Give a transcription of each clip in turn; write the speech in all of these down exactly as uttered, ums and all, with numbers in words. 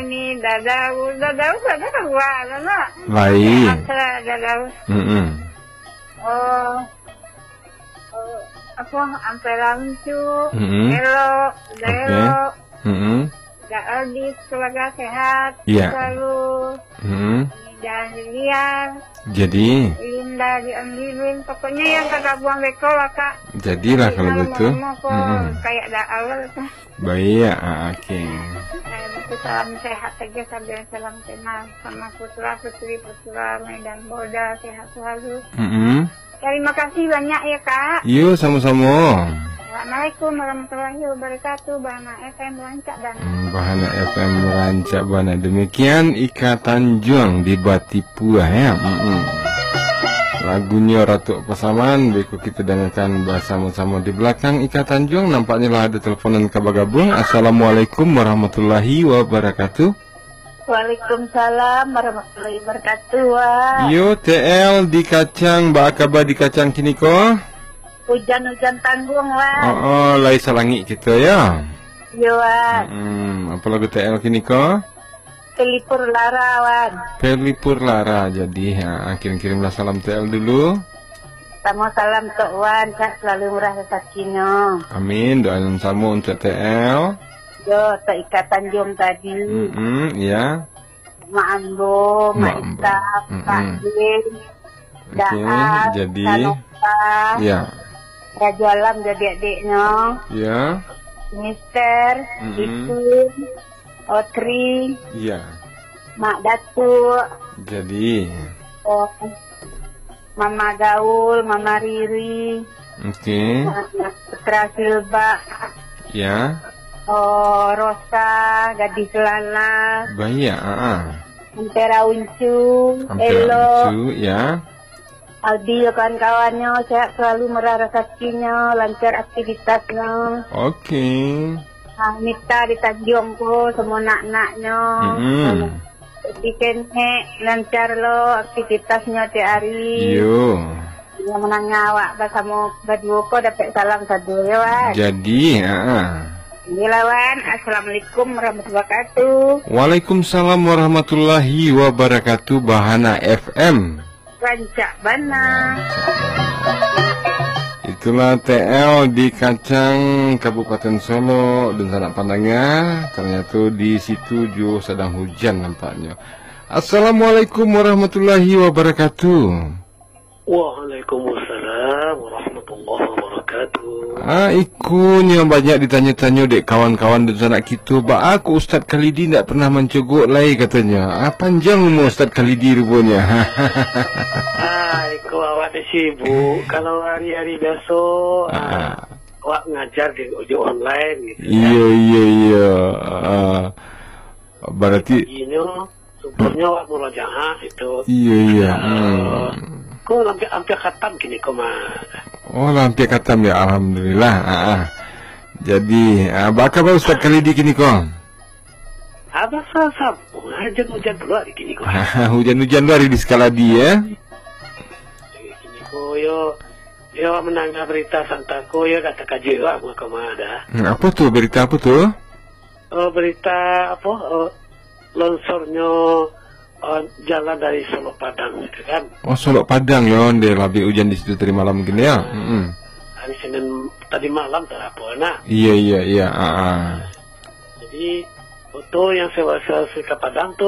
Ni dadau, dadau pada kaluar lah, nak. Baik. Apa dadau? Mm-mm. Oh, oh, apa, ampela lucu, Mm-mm. elok, Oke. elok. Mm-mm. Dak habis keluarga sehat, Iya. selalu. Mm-mm. Dan liar. Jadi? Linda di Ambilin. Pokoknya yang kagak buang beko lah, Kak. Jadilah Jadi, kalau malam-malam gitu. Aku Mm-mm. kayak dak awal tu. Baik, ah, oke. Eh, itu salam sehat saja sambil salam kenal sama putra putri putra Medan Boda, sehat selalu. Mm-mm. Terima kasih banyak ya, Kak. Yo, sama-sama. Assalamualaikum warahmatullahi wabarakatuh. Bahana F M rancak dan Hmm, Bahana F M rancak bana. Demikian Ika Tanjuang di Batipuah, ya. Mm-mm. Lagunyo Ratuak Pasaman, beko kita dangakan basamo-samo. Di balakang Ika Tanjuang, nampaknyo lah ado teleponan ka bagabuang. Assalamualaikum warahmatullahi wabarakatuh. Waalaikumsalam warahmatullahi wabarakatuh, Wak. Yo, T L di Kacang, baa kaba di Kacang kiniko? Hujan-hujan tangguang, Wak. Oh, oh, lai salangik kito, ya. Yo, Wak. Hmm, apa lagu T L kiniko? Pelipur Lara, Wan. Pelipur Lara, jadi, ha, kirim-kirimlah salam T L dulu. Samo salam Tok Wan, sehat selalu murah rezekinyo. Amin, doa nan samo untuk T L. Yo, Tok Ika Tanjung tadi. Mm-mm, iya. Mak Ambo, Mak Mak Ambo. Ika, Mm-mm. Pak Din, Oke, Daat, jadi, Saloka, iya. Rajo Alam jadi adiknyo. Iya. Mister, Mm-mm. Itun, Otri, Iya. Mak Datuk. Jadi. Oh, Mama Gaul, Mama Riri, Oke. Putra Silba, Ya. Oh, Rosa, Gadis Lala, Banyak, ah, ah. Ampera Uncu, Ampera Elo, Uncu, ya. Aldi, yo kawan-kawannyo, sehat selalu, murah rezekinyo, lancar aktivitasnyo. Oke. Ah, Mita di Tanjuang ko, semua nak-naknyo. Mm-mm. Jadi kenek, lancar lo aktivitasnyo tiap hari. Iyo. Yang menangah awak basamo baduo ko dapek salam sado yo, Wan. Jadi, ha. Iyolah, Wan. Assalamualaikum warahmatullahi wabarakatuh. Waalaikumsalam warahmatullahi wabarakatuh, Bahana F M. Rancak bana. Itulah T L di Kacang, Kabupaten Solok, dunsanak pandanga. Ternyata di situ juo sadang hujan nampaknyo. Assalamualaikum warahmatullahi wabarakatuh. Waalaikumsalam warahmatullahi wabarakatuh. Ah, ikonyo banyak ditanyo-tanyo dek kawan-kawan dunsanak kito. Baa kok Ustaz Khalidi ndak pernah mancogok lai, katonyo. Ah, panjang umua Ustaz Khalidi ruponyo. Ah, iko awak ni sibuk. Kalau hari-hari biaso, ah, Ah. awak ngajar di, di online gitu, kan. Iyo, iyo, iyo. Ah. Berarti Paginyo, subuhnyo awak murajaah itu. Iyo, iyo. Ah, Hmm. Ko hampir, hampir khatam kini ko, Mas. Oh, lah hampir khatam ya, alhamdulillah. Ah, ah. Jadi, ah, baa kaba Ustaz Khalidi kini ko? Abah sa-, sa-, hujan-hujan pulo di kini ko. Hujan-hujan lo ari di Sukaladi, ya? Kini ko, yo, yo mandanga barita santang ko, yo dak takajuik awak mah ko mah dah. Hmm, apa tu, barita apa tu? Oh, barita apa? Oh, longsornyo, oh, jalan dari Solok Padang gitu kan. Oh, Solok Padang yo, nde labih hujan di situ tadi malam mungkin ya. Mm-mm. Hari Senin tadi malam tak apa nah. Iya, iya, iya. Ah, ah. Jadi, oto yang sewa-sewa ka Padang tu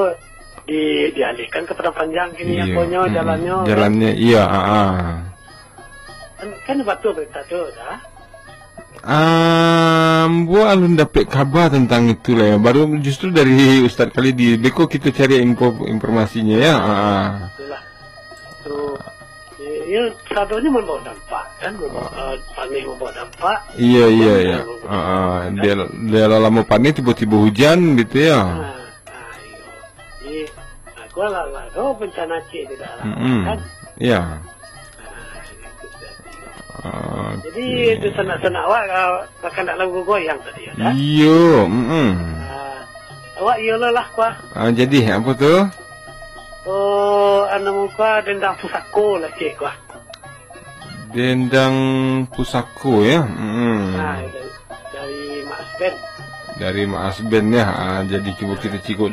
di-, dialihkan ke Padang Panjang kini, Iya. aponyo, Mm-mm. jalannyo, kan? Jalannyo, iya, ah, ah. Kan, kan batua barita tu, dah. Ah, ambo alun dapek kaba tantang itu lah, ya. Baru justru dari Ustaz Khalidi. Beko kito cari info, informasinya, ya. Ah, ah. Itulah. Tu, ya, ya, sadonyo mambawa dampak, kan? Mambawa, Oh. eh, panih mambawa dampak. Iya, iya, Hujan iya. mambawa Ah, ah. dampak, kan? Dia, dia lah lama panih, tiba-tiba hujan gitu, ya. Ah, ah, iya. Jadi, aku lah, lah, oh, bencana cik tidak lah, Mm-mm. kan? Iya. Ah, itu berarti. Jadi, Oke. itu sanak-sanak awak, ah, bahkan tak lalu goyang tadi, ya, kan? Iyo, mm-mm. Ah, awak iyo lah, lah, kuah. Ah, jadi, apa tu? Oh, anu muka dendang pusako lah, cik, kuah. Dendang pusako, ya? Mm-mm. Ah, dari, dari Mak Asben. Dari Mak Asben, ya. Ah, jadi cuba kita cikok